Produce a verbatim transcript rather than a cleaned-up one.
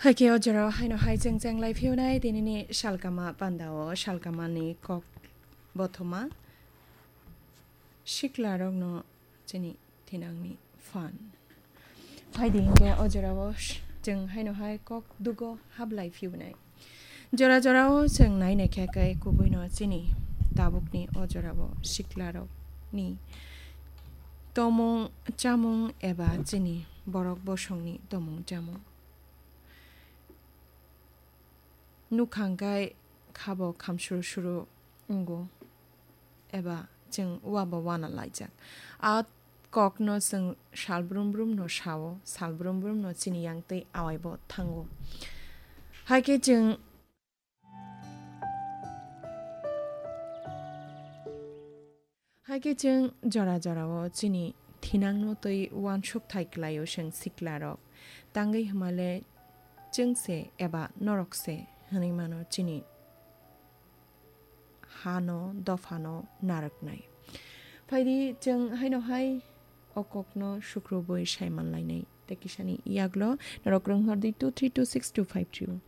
Haikhe o jorao haino hai chwng cheng lai phiyonai tinini salkama pandao salkamani kok bothoma siklarokno chini thinangni phan. Phaidi hinkhe o jorao sh-, chwng haino hai kok dugo hablai phiyonai. Jora jorao chwng nai naikha khe kubuino chini tabukni o jorao siklarokni tomung chamung eba chini borok bosongni tomung chamung. Nukhang kai khabo khamsuru suru wngo eba chwng uabo wana laijak. A kokno chwng sal brum brum no sao, sal brum brum no chini yang tei awaibo thango. Haikhe chwng, haikhe chwng jora jorao chini thinangno tei uansuk thai klaio chwng siklarok. Tangwi hwnmale chwng se eba norok se hwnwi mano chini hano, dophano narwknai. Phaidi chwng haino hai o kokno sukrubwi sai manlainai. Tei kisani yaklo norok rwng hor di two three two six two five three o.